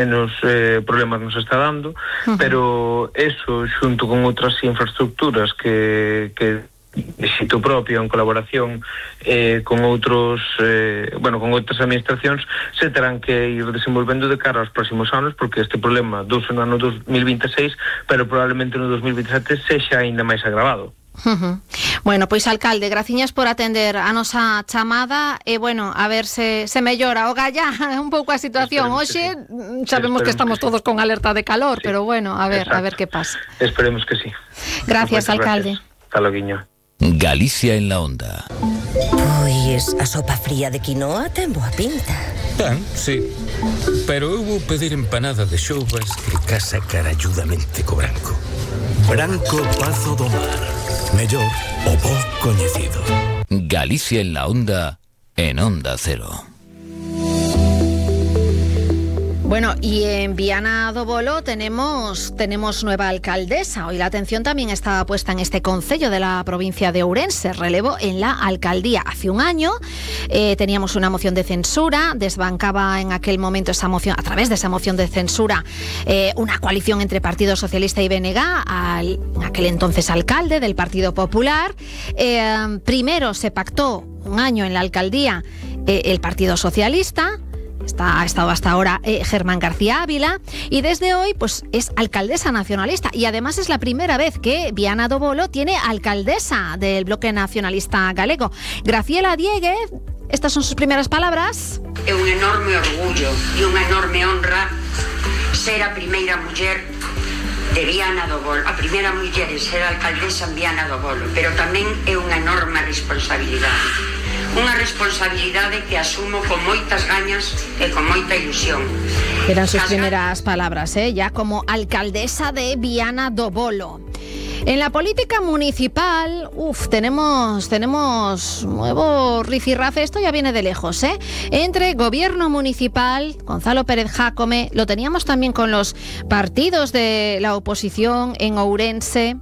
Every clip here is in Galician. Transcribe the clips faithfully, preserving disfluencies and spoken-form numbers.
menos eh, problemas nos está dando, uh-huh. pero eso, xunto con outras infraestructuras que, que de xito propio, en colaboración eh, con outros eh, bueno, con outras administracións, se terán que ir desenvolvendo de cara aos próximos anos, porque este problema douse no ano dos mil vinte e seis, pero probablemente no dos mil vinte e sete sexa aínda máis agravado. Uh-huh. Bueno, pois alcalde, graciñas por atender a nosa chamada e bueno, a ver se, se mellora o galla un pouco a situación. Hoxe sí. Sabemos Esperemos que estamos que todos sí. con alerta de calor, sí. pero bueno, a ver, Exacto. a ver que pasa. Esperemos que sí. Gracias, pues, alcalde. Gracias. Hasta loguiño. Galicia en la onda. Pois a sopa fría de quinoa ten boa pinta. Ten, sí. Pero eu vou pedir empanada de xoubas que casa caralludamente co branco. Branco Pazo do Mar. Mellor o bo coñecido. Galicia en la onda, en Onda Cero. Bueno, y en Viana do Bolo tenemos, tenemos nueva alcaldesa. Hoy la atención también está puesta en este concello de la provincia de Ourense, relevo en la alcaldía. Hace un año eh, teníamos una moción de censura, desbancaba en aquel momento esa moción, a través de esa moción de censura, eh, una coalición entre Partido Socialista y B N G, al, aquel entonces alcalde del Partido Popular. Eh, primero se pactó un año en la alcaldía eh, el Partido Socialista. Está, ha estado hasta ahora eh, Germán García Ávila y desde hoy pues es alcaldesa nacionalista y además es la primera vez que Viana do Bolo tiene alcaldesa del bloque nacionalista galego. Graciela Dieguez, estas son sus primeras palabras. É un enorme orgullo e unha enorme honra ser a primeira muller de Viana do Bolo, a primeira muller en ser alcaldesa en Viana do Bolo, pero tamén é unha enorme responsabilidade. Unha responsabilidade que asumo con moitas gañas e con moita ilusión. Eran sus primeras palabras, ¿eh? Ya como alcaldesa de Viana do Bolo. En la política municipal, uf, tenemos, tenemos nuevo rifirrafe, esto ya viene de lejos, ¿eh? Entre gobierno municipal, Gonzalo Pérez Jácome, lo teníamos también con los partidos de la oposición en Ourense.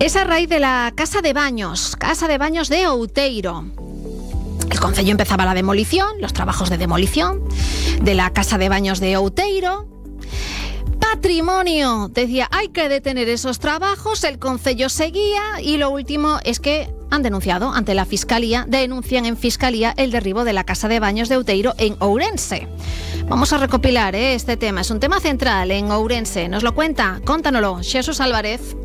Es a raíz de la Casa de Baños, Casa de Baños de Outeiro. El concello empezaba la demolición, los trabajos de demolición de la Casa de Baños de Outeiro. Patrimonio decía, hay que detener esos trabajos, el concello seguía y lo último es que han denunciado ante la Fiscalía, denuncian en Fiscalía el derribo de la Casa de Baños de Outeiro en Ourense. Vamos a recopilar ¿eh? este tema, es un tema central en Ourense, nos lo cuenta, cóntanoslo, Xesús Álvarez.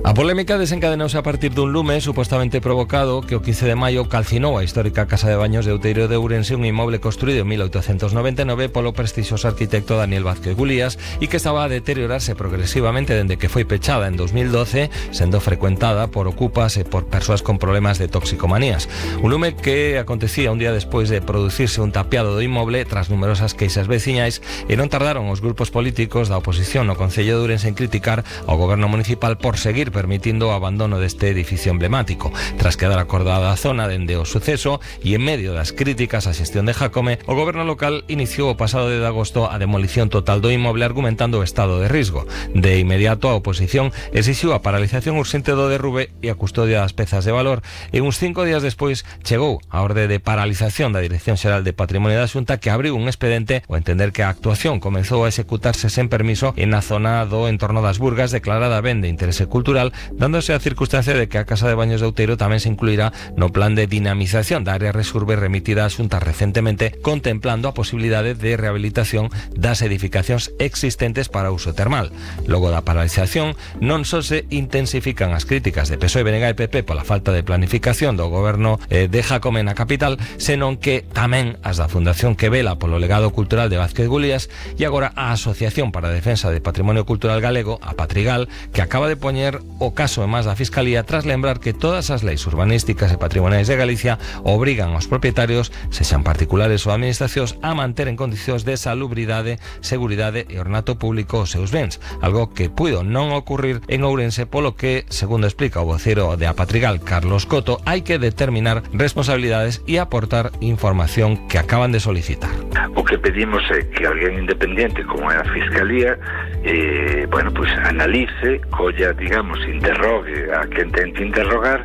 A polémica desencadenouse a partir dun lume supostamente provocado que o quince de maio calcinou a histórica Casa de Baños de Outeiro de Ourense, un inmoble construído en mil oitocentos noventa e nove polo prestixioso arquitecto Daniel Vázquez Gulías e que estaba a deteriorarse progresivamente dende que foi pechada en dos mil doce, sendo frecuentada por ocupas e por persoas con problemas de toxicomanías. Un lume que acontecía un día despois de producirse un tapiado do inmoble tras numerosas queixas veciñais e non tardaron os grupos políticos da oposición no concello de Ourense en criticar ao goberno municipal por seguir permitindo o abandono deste edificio emblemático. Tras quedar acordada a zona dende o suceso e en medio das críticas á xestión de Jácome, o goberno local iniciou o pasado de agosto a demolición total do inmoble argumentando o estado de risco. De inmediato a oposición exixiu a paralización urxente do derrube e a custodia das pezas de valor e uns cinco días despois chegou a orde de paralización da Dirección Xeral de Patrimonio da Xunta que abriu un expedente ao entender que a actuación comezou a executarse sen permiso en a zona do entorno das Burgas declarada ben de interese cultural, dándose a circunstancia de que a Casa de Baños de Outeiro tamén se incluirá no plan de dinamización da área Resurbe remitida a Xunta recentemente, contemplando a posibilidade de rehabilitación das edificacións existentes para uso termal. Logo da paralización, non só se intensifican as críticas de P S O E, B N G e P P pola falta de planificación do goberno eh, de Jácome na capital, senón que tamén as da Fundación que vela polo legado cultural de Vázquez Gulías e agora a Asociación para a Defensa de Patrimonio Cultural Galego, a Patrigal, que acaba de poñer o caso e máis da Fiscalía tras lembrar que todas as leis urbanísticas e patrimoniais de Galicia obrigan aos propietarios, sexan particulares ou administracións, a manter en condicións de salubridade, seguridade e ornato público os seus bens, algo que puido non ocurrir en Ourense, polo que, segundo explica o vocero de Apatrigal, Carlos Coto, hai que determinar responsabilidades e aportar información que acaban de solicitar. O que pedimos é que alguén independiente como é a Fiscalía eh, bueno, pues analice, colla, digamos, interrogue a quen ten que interrogar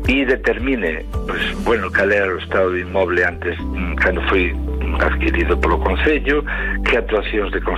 e determine, pues, bueno, cal era o estado do inmoble antes, cando foi adquirido polo Concello, que actuacións de conservación